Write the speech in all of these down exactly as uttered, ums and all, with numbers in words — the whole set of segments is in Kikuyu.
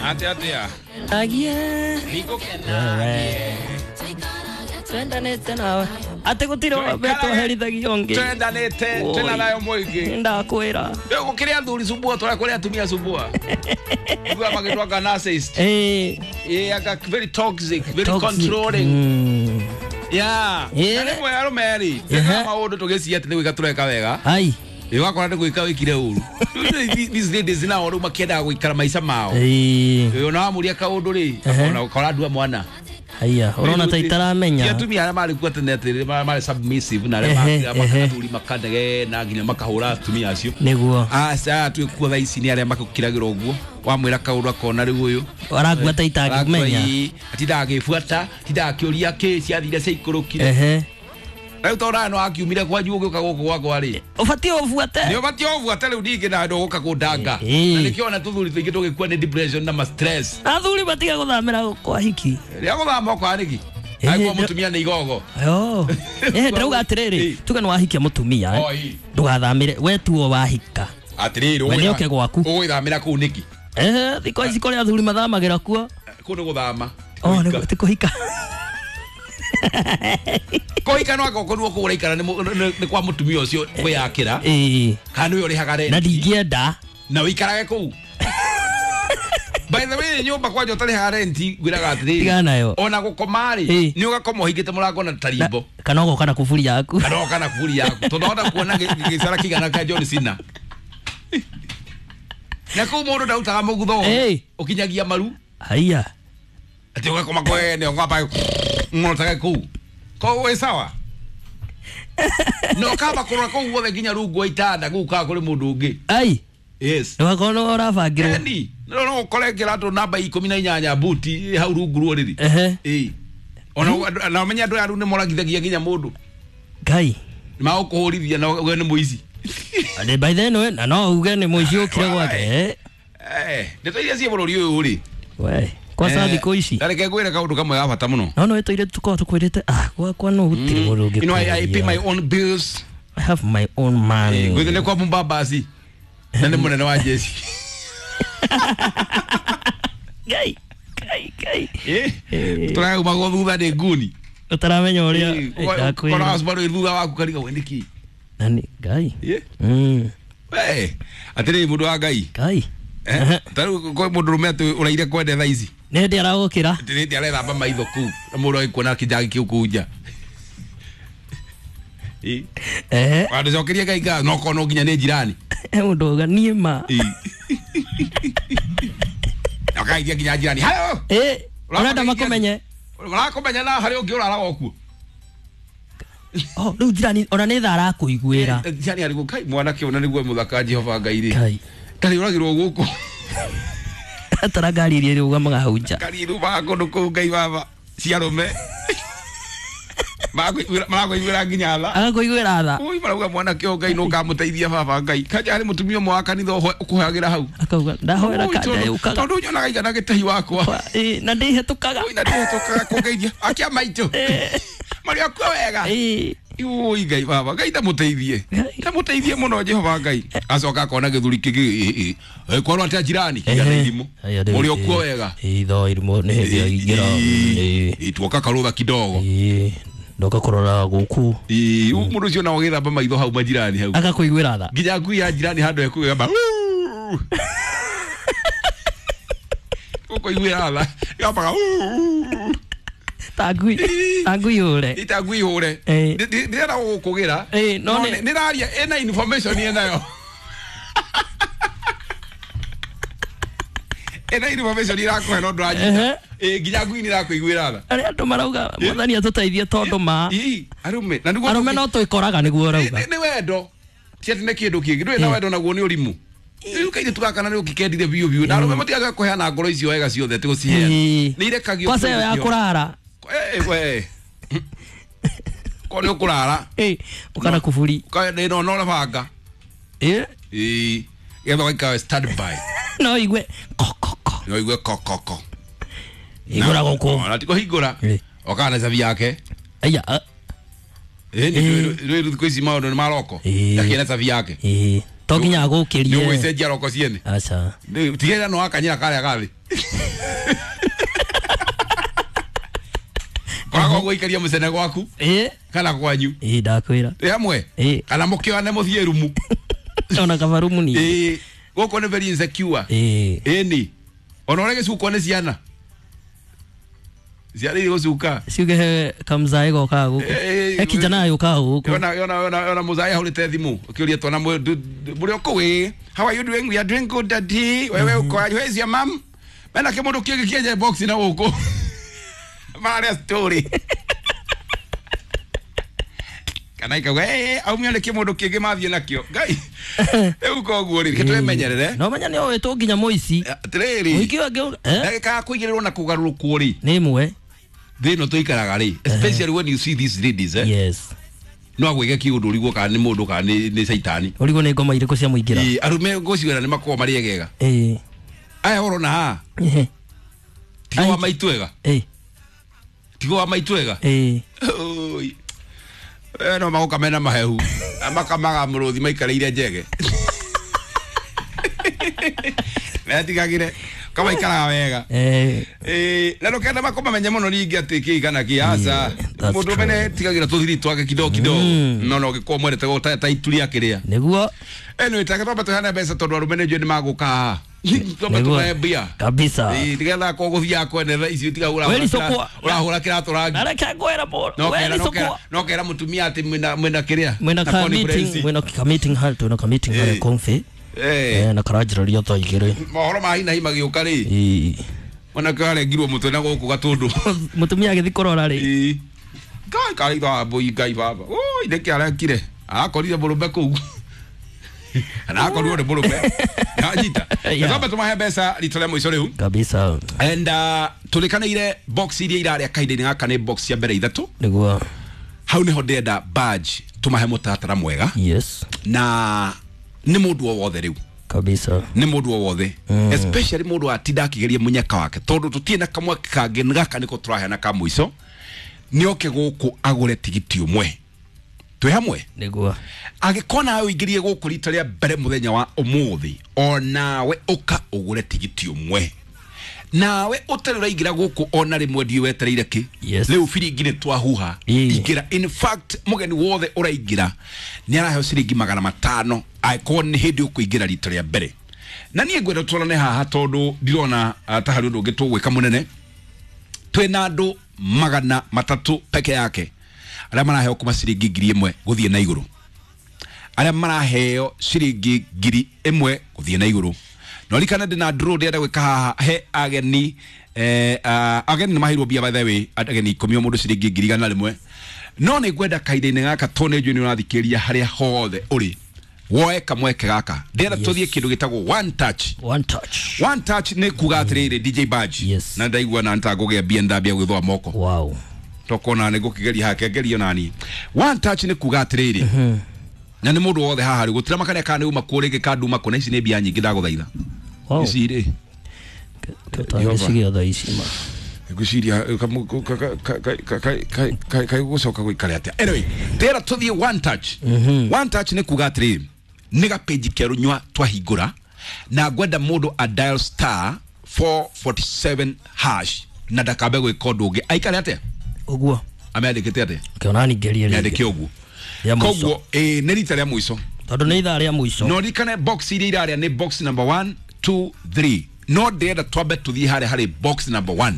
Atia atia. Agie. Nigukenagie. Twendanĩte nawe. Atĩ gũtirĩ betwoherithagia ũngĩ. Twendanĩte twĩna thayũ mũingĩ. Ndakwĩra. Rĩu gũkĩrĩ athuri sumbua tũrĩa kũrĩ atumia sumbua. Igua magĩtwanga narcissist. Eh. Yeah, anga very toxic, very Toxic. controlling. Mm. Yeah. Yeah. Na rĩmwe arũme rĩ, Ehe. maũndũ tũgĩciria atĩ nĩ gwĩka tũreka wega. Ai. Ĩ wakora nĩ gwĩka wĩkire ũru. Rĩu these ladies nao rĩu makĩendaga gũikara maica mao. Eh. Ĩ ona wamũria kaũndũ rĩ, Ehe. ona ũkora ndua mwana. Haya, ũrona ta Ti itaramenya. atumia arĩa marĩ kuo tene atĩ marĩ submissive na arĩa Ehe, makĩra ehe. athuri makanegena nginya makahũra atumia acio. Nĩguo. Aca twĩ kuo thaa ici nĩ arĩa makũkiragĩra ũguo wamwĩra kaũndũ akona rĩu ũyũ Arakua ta itangĩmenya. atindaga agĩbuata atindaga akĩũria kĩ ciathire ciaikũrũkire. Ehe. Rĩu tondũ nawe nĩwakiumire kwanyu ũgĩũka gũkũ gwakwa rĩ, Ũbatiĩ ũbuate. nĩ ũbatiĩ ũbuate rĩu ningĩ nawe ndũgũka kũndanga. Ĩĩ. Na nĩkĩo ona tũthuri tũingĩ tũgĩkua nĩ depression na ma stress. Athuri matiga gũthamĩra kwa hiki. Rĩrĩa gũthama ũkoya nĩkĩ? Ĩĩ, Angĩkorwo ndĩ- mũtumia nĩ igogo. Yo. Eh, ndĩrauga atĩrĩrĩ, Ĩĩ. tuge nĩ wahikia mũtumia eh. Oh, ĩĩ. Ndũgathamĩre, we tuo wahika. Atĩrĩrĩ, We nĩoke gwaku. ũgũgĩthamĩra kũu nĩkĩ? Eh, thikũ ici kũrĩ athuri mathamagĩra kuo. Kũu nĩ gũthama. Oh, nĩ ti kũhika. Kũhika no angĩkorwo kũu ũraikara nĩ mũ- nĩ nĩ kwa mũtumia ũcio kwĩyakĩra Ĩĩ. kana nĩwe ũrĩhaga rent. Na ndingĩenda. Na ũikarage kũu. By the way, nyũmba kwanja ũtarĩhaga rent ngwĩraga atĩrĩrĩ, Tigana nayo. ona gũkoma rĩ, Ĩĩ. nĩ ũgakoma ũhingĩte mũrango na tarimbo. Kana ũgoka na kuburi yaku. Kana ũgoka na kuburi yaku. Tondũ wahota kuona gĩ- gĩcara kĩigana kĩa John Cena. Na kũu mũndũ ndarutaga mũgutho Ĩĩ. ũkinyagia maru. Haiya. Atĩ ũgakoma kwene ũgamba ng'otage kũu. Koguo wĩ sawa. Na ũkamba kũrora kũu guothe nginya rungu wa itanda kũu kana kũrĩ mũndũ ũngĩ. Ai. Yes. Ndũgakorwo nĩwe ũrabangĩrwo. Eni, no no ũkore kĩratũ namba ikũmi na inyanya buti hau rungu rwa ũrĩrĩ. Ehe. Ĩĩ. Ona na ũmenye andũ aya rĩu nĩ moragithagia nginya mũndũ. Ngai. Nĩ magũkũhũrithia na uge nĩ mũici. Ande by then we na no uge nĩ mũici ũkire gwake. Eh. Eh, ndeto iria ciĩ bũrũri ũyũ rĩ. We, kwa thikũ ici. Na reke ngwĩre kaũndũ kamwe ga bata mũno. No no ĩtũire tũkorwo tũkwĩrĩte ah gwakwa no gũtirĩ mũndũ ũngĩ. You know, I, I pay my own bills. I have my own money. Ngwĩthĩ nĩ kwa Mumbabasi. Na nĩ mũnene wa jeshi. Ngai. Ngai, Ngai. Eh, tũraumagwo thutha nĩ nguni. Ũtaramenya ũrĩa Kora Subaru ĩ thutha waku kariga we nĩkĩ? Na nĩ Ngai. Eh. Mm. We, atĩrĩrĩ mũndũ wa Ngai. Ngai. Eh, ta rĩu kwĩ mũndũ rũme atĩ ũraire kwende thaa ici. Nĩ hĩndĩ aragũkĩra. Atĩ nĩ hĩndĩ arethamba maitho kũu na mũndũ agĩkuona kĩnjagi kĩu kũu nja. Ĩ. Ehe. Wandũcokerie Ngai ngatho no korwo no nginya nĩ jirani. He mũndũ auga niĩ ma. Ĩ. Akaithia nginya jirani. Hayo. Ĩ, ũrenda makũmenye. Marakũmenya na harĩ ũngĩ ũraraga o kuo. Oh, rĩu jirani ona nĩ tha arakũiguĩra. Eh, Jirani arĩ kai mwanake ũyũ na nĩguo mũthaka Jehova Ngai rĩ. Ngai. Ndarĩ ũragĩrwo gũkũ. Atara ngari iria ĩrũgamaga hau nja. Ngari irũmaga kũndũ kũu Ngai baba cia arũme. Marakũiguĩra nginya tha. Agakũiguĩra tha. Ui marauga mwanake ũyũ Ngai nũkamũteithia baba Ngai. Kanja harĩ mũtumia ũmwe wa kanitha ũho- ũkũhoyagĩra hau. Akauga ndahoera Ui, kanja tondũ- yũkaga. Tondũ nyonaga igana gĩtahi wakwa. Ĩ, na ndĩhetũkaga. Ui na ndĩhetũkaga kũngeithia. Akia maitũ. Marĩ akuo wega. Ĩ. Ui Ngai baba Ngai ndamũteithie. Ngai. Ndamũteithie mũno Jehova Ngai. Acoka akona gĩthuri kĩngĩ ĩ, kwarwo atĩa jirani kĩgana irimũ. Haya, rĩu, Mũrĩ okuo ĩ, wega. ĩ, tho irimũ nĩ hĩndĩ aingĩra. Ĩ, Ĩ, tuoka karũtha kidogo. ĩ, ndoka kũrora gũkũ. Ĩ, mũndũ ũcio nao agĩthamba maitho hau majirani hau. Agakũiguĩra tha. Nginya ngui ya jirani handũ ekũgamba. Ũkũiguĩra tha. Ĩgambaga. Ta ngui, ta ngui hũre. Ita ngui hũre. Ĩ. Ndĩrenda gũgũkũgĩra. Ĩ, no No nĩ- nĩraria ĩna information ĩnayo. Ĩna information ĩrakũhe no ndũranyita. Ehe. Ĩ, nginya ngui nĩ ĩrakũiguĩra tha. Arĩa andũ marauga mwathani atũteithie tondũ ma Ĩ, arũme na nĩguo arũme no twĩkoraga nĩguo ũrauga. nĩ nĩ wendo ti atĩ nĩ kĩndũ kĩngĩ ndũrĩ na wendo naguo nĩ ũrimũ. Rĩu kairĩtu gaka na nĩ ũkĩkendire biũ biũ na arũme matigaga kũheana ngoro icio wega ciothe atĩ gũciheana. Ĩ. Nĩ irekagio Kwanza ĩyo ya kũrara. Eh, we. Ko nĩ ũkũrara. Ĩ, ũkana kuburi. Ka nĩ no no banga. Ĩ, Ĩ, getha ũgaikara stand by. no igue ko ko ko. No igue ko ko ko. Hingũra gũkũ. Na ti kũhingũra. Ĩ. Okaga na cabi yake. Aya, a- Ĩ, nĩ rĩu thikũ ici maũndũ nĩ maroko. Ĩ. Ndakĩena cabi yake. Ĩ. To nginya agũkĩrie. Nĩ ũgũcenjia roko ciene. Aca. Tigĩrĩra no wakanyĩra karĩa gathĩ. Kwaga gũikaria mũcene gwaku. Ĩ. Kana kwanyu. Ĩ ndakwĩra. Ĩ hamwe. Ĩ. Kana mũkĩoane mũthiĩ rumu. Ona kaba rumu ni. Ĩ. Gũkũ nĩ very insecure. Ĩ. Ĩni. Ona ũrĩa gĩcukwo nĩ ciana. Ciana irĩ gũcuka. Ciuge he kamzae gokaga gũkũ. He kijana yũkaga gũkũ. Yona yona yona yona muzae ahũrĩte thimũ ũkĩũria twana mũrĩ o kũu ĩ. How are you doing? We are doing good, daddy. Wewe uko aje? Where is your mom? Mena kĩmũndũ kĩngĩ kĩenje box na gũkũ. Mararia story. Kana ikauga eh aumio nĩ kĩmũndũ kĩngĩ mathiĩ nakĩo. Ngai. Rĩu koguo rĩ, twĩmenyerere. No menya nĩ oĩ nginya mũici. Atĩrĩrĩ. Mũingĩ wangĩ eh ndagĩka ya kũigĩrĩrwo na kũgarũrũkwo rĩ. Nĩ ĩmwe. Thĩ ĩno tũikaraga rĩ, especially when you see these ladies eh. Yes. No agwĩke kĩũndũ ũrigwo kana nĩ mũndũ kana nĩ nĩ caitani. Ũrigwo nĩ ngoma irĩkũ cia mũingĩra. Ĩ arũme ngũciwĩra nĩ makoragwo marĩ egega. Ĩ. Aya ũrona haha. Tigo wa maitũ ega. Ĩ. Tigo wa maitũ ega. Ĩ. Oi. Eh no magoka mena mahehu. Makamaga mũrũthi maikarĩire njege. Metigagire kama ikaraga wega. Eh. Eh, na ndũkenda makũmamenye mũno ningĩ atĩ kĩ kana kĩ aca. Mũndũ mene tigagira tũthiri twake kidogo kidogo. No no gĩkorwo mwerete go ta itu rĩa kĩrĩa. Nĩguo. Anyway, take twambe tũheane mbeca tondũ arũme nĩ njũĩ nĩ magũka haha. Twambe tũmahe mbia. Kabisa. Ĩ nĩgetha korwo gũthiaga kwene icio tiga ũrahũra kĩratũ rangi. Na reke ngwĩra mũno. No kera mũtumia atĩ mwĩna mwĩna kĩrĩa. Mwĩna ka meeting, mwĩna ka meeting hall, twĩna ka meeting hall confe. Eh na karanjĩrĩria thaa igĩrĩ. Mohoro ma hi na hi magĩũka rĩ. Ĩ. Mwanake arengirwo mũtwe na gũkũ gatũndũ. Mũtumia agĩthiĩ kũrora rĩ. Ĩ. Ngai karĩ tha mbũi Ngai baba. Oi nĩkĩ arekire? Akorire mũrũme kũu. Na akorirwo nĩ mũrũme. Ndanyita. Twambe tũmahe mbeca rita rĩa mũico rĩu. Kabisa. And uh, tũrĩkanĩire box iria irarĩa kahinda-inĩ gaka nĩ box cia mbere ithatũ. Nĩguo. Hau nĩho ndĩrenda badge tũmahe mũtaratara mwega. Yes. Na nĩ mũndũ o wothe rĩu. Kabisa. Nĩ mũndũ o wothe. Especially mũndũ atinda akĩgeria mũnyaka wake tondũ tũtirĩ na kamweke kangĩ gaka nĩko tũraheana ka mũico. Nĩ oke gũkũ agũre tigiti ũmwe. Twĩ hamwe? Nĩguo. Angĩkorwo nawe ũingĩrie gũkũ rita rĩa mbere mũthenya wa ũmũthĩ, onawe ũka ũgũre tigiti ũmwe. Nawe ũtarĩ ũraingĩra gũkũ ona rĩmwe ndiũĩ wetereire kĩ. Yes. Rĩu biringi nĩ twahuha. Ingĩra. In fact mũgeni wothe ũraingĩra nĩ araheo ciringi magana matano angĩkorwo nĩ hĩndĩ ũkũingĩra rita rĩa mbere. Na niĩ ngwenda tũrorane haha tondũ ndirona ta harĩ ũndũ ũngĩ tũgwĩka mũnene. Twĩna andũ magana matatũ peke yake arĩa maraheo kuma ciringi ngiri ĩmwe gũthiĩ na igũrũ. Arĩa maraheo ciringi ngiri ĩmwe gũthiĩ na igũrũ. No rikana ndĩna draw ndĩrenda gwĩka haha he ageni eh ageni nĩ maheirwo mbia by the way ageni ikũmi o mũndũ ciringi ngiri igana rĩmwe. No nĩ ngwenda kahinda-inĩ gaka tondũ nĩ njũĩ nĩ ũrathikĩrĩria harĩa hothe ũrĩ woe kamweke gaka. Ndĩrenda tũthiĩ kĩndũ gĩtagwo one touch. One touch. One touch nĩ kuga atĩrĩrĩ D J Badge. Yes. Na ndaigua na nĩtangũgĩa mbia ndambia gwĩthũa moko. Wow. Tokona nĩ ngũkĩgeria hake ngerio nani. One touch nĩ kuga atĩrĩrĩ. Na nĩ mũndũ wothe haha rĩ gũtira makania kana nĩ uma kũ rĩngĩ kanduma kũ na ici nĩ mbia nyingĩ ndagũthaitha. Wow. Ici rĩ. Tũtangĩcigĩa thaa ici ma. Ngwĩciria kai gũcoka gũikare atĩa. Anyway, ndĩrenda tũthiĩ one touch. One touch nĩ kuga atĩrĩrĩ nĩ gapĩnji kerũ nyua twahingũra na ngwenda mũndũ a dial star four forty-seven hash na ndakambe gwĩka ũndũ ũngĩ. Aikare atĩa? Ũguo. Amĩandĩkĩte atĩa? Kĩona ningĩrie rĩngĩ. Mĩandĩke ũguo. Koguo ĩ nĩ rita rĩa mũico. Tondũ nĩ ithaa rĩa mũico. No ririkane box iria irarĩa nĩ box number one, two, three. No ndĩrenda twambe tũthiĩ harĩa harĩ box number one.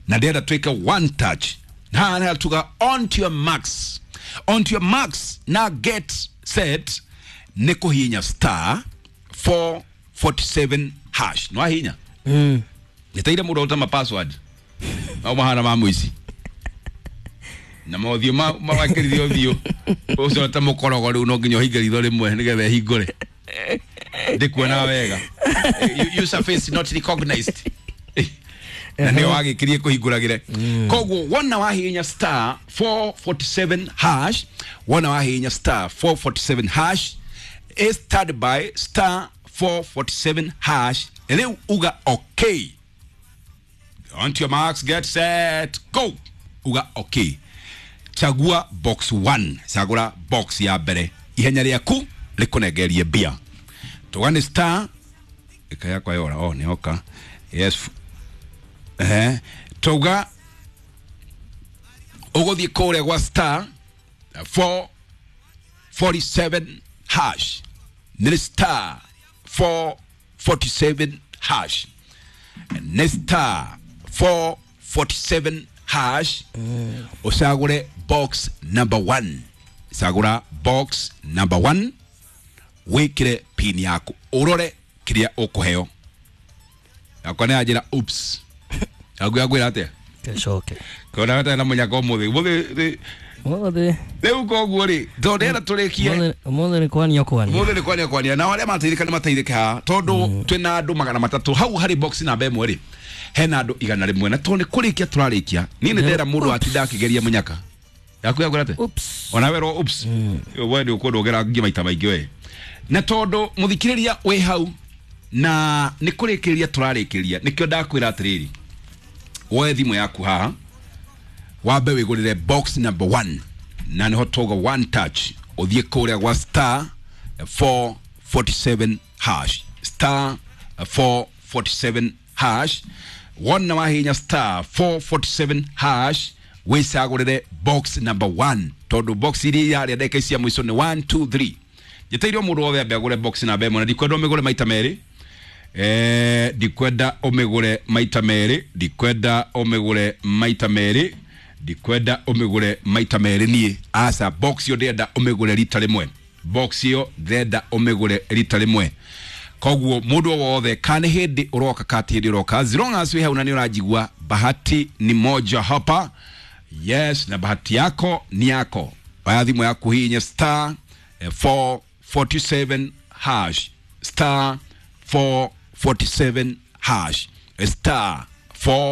Na ndĩrenda twĩke one touch. Haha nĩ tuga on to your marks. On to your marks na get set nĩ kũhihinya star four forty-seven hash. No ahihinya? Mm. Nĩteire mũndũ ũta ma password. Mau mahana ma mũici. Na mothiũ mawakĩrithio ũthiũ. Ũcio ta mũkorogo rĩu no nginya ũhinge ritho rĩmwe nĩgetha ĩhingũre. Ndĩkuonaga wega. User face not recognized. Na nĩo wagĩkirie kũhingũragĩre. Koguo wona wahihinya star four forty-seven hash, wona wahihinya star four forty-seven hash, is started by star four forty-seven hash. Rĩu uga okay. On to your marks, get set, go. Uga okay. Chagua box one. Chagura box ya mbere. Ihenya rĩaku rĩkũnengerie mbia. Tuga nĩ star ĩka yakwa yora oh nĩ oka yes eh tuga ũgũthiĩ kũrĩa gwa star four forty-seven hash nĩ star four forty-seven hash nĩ star four forty-seven hash ũcagũre box number one cagũra box number one wĩkĩre pin yaku ũrore kĩrĩa ũkũheo yakwa nĩ yanjĩra oops yaku yakwĩra atĩa Kecoke. kona gatarĩ na mũnyaka ũmũthĩ ũmũthĩ Ũmũthĩ. rĩu koguo rĩ tondũ ndĩrenda tũrĩkie Ũmũthĩ nĩ kwania kwania. Mũthĩ nĩ kwania kwania na arĩa mateithĩka nĩ mateithĩke haha tondũ twĩna andũ magana matatũ hau harĩ box namba ĩmwe rĩ hena andũ igana rĩmwe na tondũ nĩ kũrĩkia tũrarĩkia niĩ nĩ ndĩrera mũndũ atinda akĩgeria mũnyaka yaku yakwĩra atĩa Oops. ona werwo oops we nĩ ũkwenda ũgera nginya maita maingĩ we na tondũ mũthikĩrĩria wĩ hau na nĩ kũrĩkĩrĩria tũrarĩkĩrĩria nĩkĩo ndakwĩra atĩrĩrĩ woe thimũ yaku haha wambe wĩgũrĩre box number one na nĩho tauga one touch ũthiĩ kũrĩa gwa star four forty-seven hash star four forty-seven hash wona wahinya star four forty-seven hash wĩcagũrĩre box number one tondũ box iria yarĩa ndagĩka ici cia mũico nĩ one two three njĩtĩire o mũndũ wothe ambe agũre box namba ĩmwe na ndikwenda ũmĩgũre maita merĩ eh ndikwenda ũmĩgũre maita merĩ ndikwenda ũmĩgũre maita merĩ ndikwenda ũmĩgũre maita merĩ niĩ aca box ĩyo ndĩrenda ũmĩgũre rita rĩmwe box ĩyo ndĩrenda ũmĩgũre rita rĩmwe koguo mũndũ o wothe kana nĩ hĩndĩ ũroka kana ti hĩndĩ ũroka as long as wĩ hau na nĩ ũranjigua bahati ni moja hapa yes na bahati yako ni yako oya thimũ yaku hihinye star four forty-seven hash star four forty-seven hash star four